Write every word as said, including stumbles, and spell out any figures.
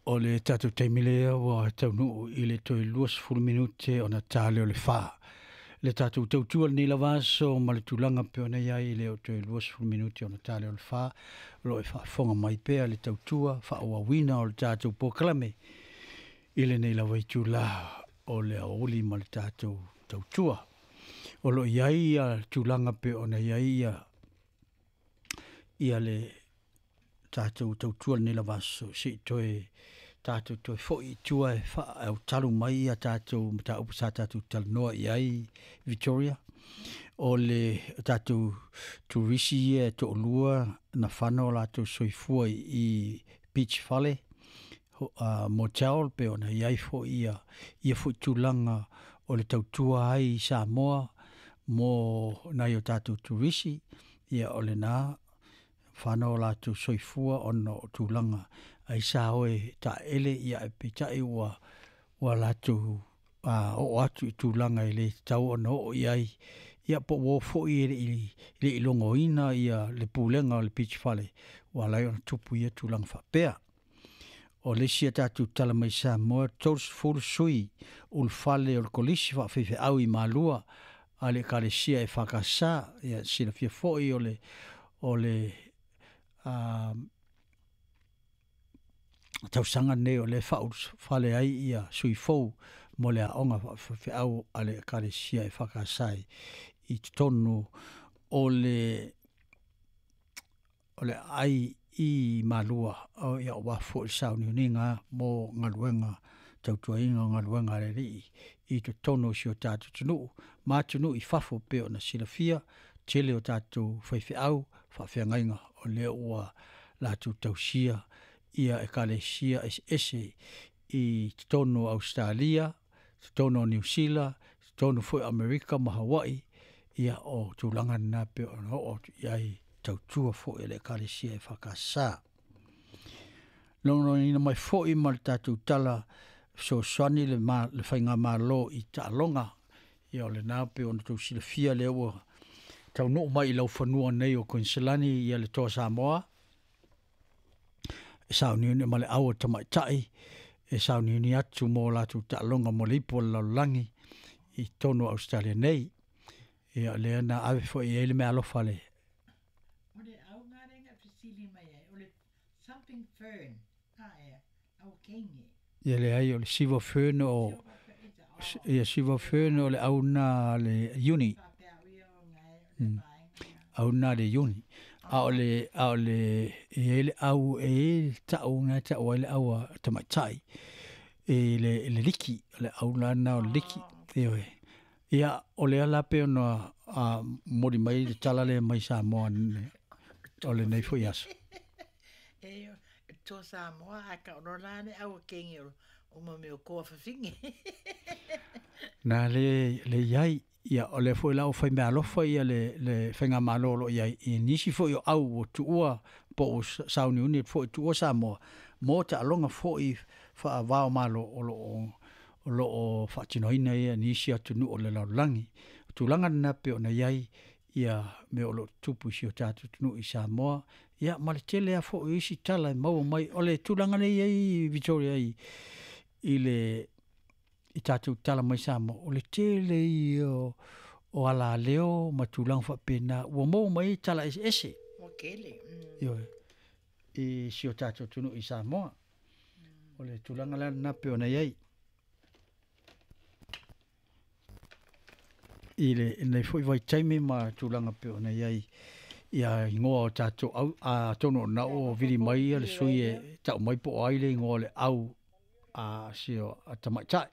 O le tatou taimi lea ua taunuu i le toe luasefulu minute ona ta lea o le fa. Le tatou tautua lenei lava aso ma le tulaga pei ona i ai e le o toe luasefulu minute ona ta lea o le fa, o lo o e faafofoga mai pea le tautua faaauauina o le tatou polokalame i lenei lava itula o le aoauli ma le tatou tautua. O lo o i ai ia tulaga pei ona i ai ia, ia le tatou tautua lenei lava aso, se i toe tatou toe foi i tua e faautalu mai ia tatou mataupu sa tatou talanoa i ai Victoria. O le tatou turisi ia e toalua na fana o latou soifua i Beach Fale uh, motel pe ona i ai foi ia, ia foi tulaga o le tautua ai i Samoa mo nai o tatou turisi, ia o lena fana o latou soifua ona o tulaga ai sa o e taele ia e peitai ua ua latou a oo atu i tulaga e le tatau ona oo i ai, ia po ua o foi e le i le i logoina ia le pulega o le Beach Fale ua ala ai ona tupu ia tulaga faapea. O le isi a tatou tala mai Samoa, tolusefulu sui ulufale o le Kolisi Faafeifeau i Malua a le Ekalesia e F K S, ia silafia foi o le o le a tausaga nei o le faaulufale ai ia sui fou mo le aoga faafeifeau a le Ekalesia e F K S i totonu o le o le aai i Malua o ia aua foi le sauniuniga mo galuega tautuaina o galuega a le Alii i totonu o si o tatou atunuu ma atunuu i fafo pei ona silafia tele o tatou faifeau faafeagaiga o lea ua latou tausia ia Ekalesia eseese i totonu o Ausetalia, totonu o Niu Sila, totonu foi o Amerika ma Hawaii, ia o tulaga lena pei ona oo atu i ai tautua foi a le Ekalesia e F K S. Logoina mai foi ma le tatou tala fesoasoani le, ma, le faigamalo i taaloga, ia o lena pei ona tou silafia lea ua taunuu mai i laufanua nei o Koiniselani ia le Toa Samoa, e sauniuni ma le au a tamaitai e sauniuni atu mo latou taaloga mo le ipu o le lalolagi i totonu o Ausetalia nei. Ia lea na ave foi i ai le meaalofa le O le auga lea na fesili mai ai, o le something fern, a ea, au kenge. Ia leai o le silver fern o ia silver fern o le au na le uni. Mm. Au na le uni. A o le a o le e i ai le au e i ai ta'u na ta'u ai le au a tamaitai i le i le liki, o le au lana o le liki. Ioe. Ia o lea la pei ona a momoli mai le tala lea mai Samoa o lenei foi aso. E to Samoa a ka ono la ne au kenge o o mo me o koa fawhinge. Na le le iai ia o le foi la o fai meaalofa ia le le faigamalo o lo o iai i nisi foi o au o tuua po o sauniuni foi tuua Samoa mo taaloga foi faavao malo o lo o o lo o faatinoina ia nisi atunuu o le lalolagi. O tulaga lena pei ona i ai ia mea o lo o tutupu i si o tatou atunuu i Samoa, ia ma le tele lava foi o isi tala e maua mai. O le tulaga lea e i ai Victoria i i le i tatou tala mai Samoa, o le tele ia o, o alaleo ma tulaga faapena ua maua mai ai tala eseese. Ua tele. Mm. Ioe, i si o tatou atunuu i Samoa. O le tulaga la lena pei ona i ai. I le lenei foi vaitaimi ma tulaga pei ona i ai ia igoa o tatou au, atonu o lena ua vili mai ia le sui e tau mai po o ai le igoa o le au a si o a tamaitai.